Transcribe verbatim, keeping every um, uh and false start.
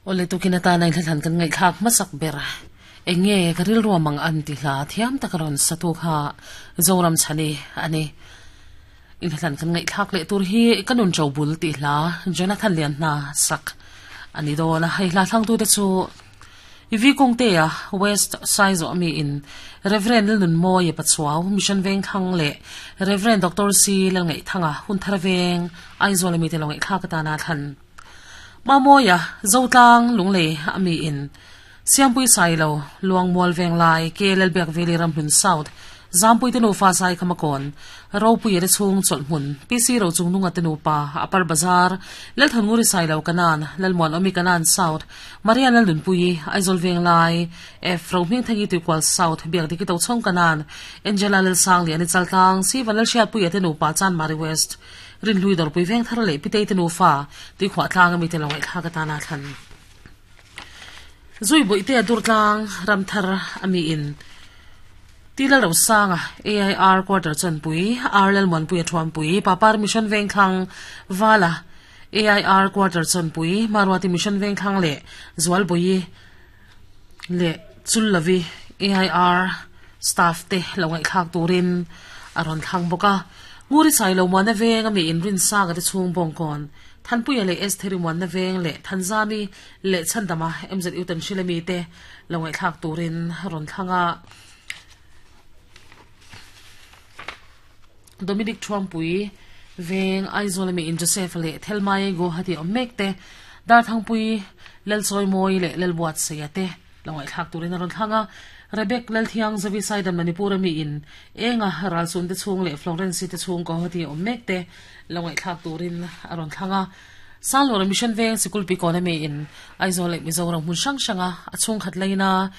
Ole tukin atana in kan ngai thak masak ber enge karil ruamang an ti hla thiam takaron satu kha Zoram Chhani ani. In hlan kan ngai thak le tur hi kanun chobul ti hla Jonathan Lian na sak ani do na. Hai hla thang tu te chu ivi kong te a West Size o mi in Reverend Nun Mo ye Pachuaw Mission Veng Thang le Reverend Doctor C Lal Ngai Thanga Hun Thar Veng Aizawl mi te lo ngai thak ta na than ma moya Zotlang Lungle ami in Siampui Sailo Luang Mual Veng Lai ke Lelbek Veli Ramhlun South Zampui te nu fa sai khamakon Ropui re chung chol hmun P C ro chung nunga te nu pa Upper Bazar Lel Thanguri Sailo Kanan Lalmon Omi Kanan South Maria Lal Nunpui Aizol Veng Lai F Ro Hming Thangi Tuikwal South Biak Diki To Chong Kanan Angela Lel Sang Lian Chaltlang Si Vanlal Hriat Pui te nu pa Chan Mari West Rin Hlui Dawrpui Veng Thar le Pitei te nu fa Tui Khwa Tlang ami te lo ngai thla ka ta na thlan Zui Bui te Durtlang Ramthar ami in Tila Ro Sanga A I R Quarter Chan Pui R Lel Mon Pui Thuam Pui Papar Mission Veng Thlang Vala A I R Quarter Chan Pui Marwati Mission Veng Thlang le Zwal Bui le Chullavi A I R staff te lo ngai thak turin aron thlang boka. Nguri Sai lo mo na veng ami in Rin sa ga te chung bong kon Thanpui le S theri mon na veng le Thanzami le Chandama M Z Utan Shilemi te lo ngai thak turin ron thlanga. Dominic Trumpui Veng Aizawl mi in Joseph le Thelmai go hati omek te Dar Thangpui Lel Choi Moi le Lel Buat se te lo ngai thak turin ron thlanga. Rebek Lel Thiang Zavi Saidan Manipur mi in Enga Ral Sun te chung le Florence te chung ko hati omek te lo ngai thak turin aron thlanga. Sanglor Mission Veng Sikul pi kona mi in Aizawl le Mizoram hun sang sanga achung khat leina.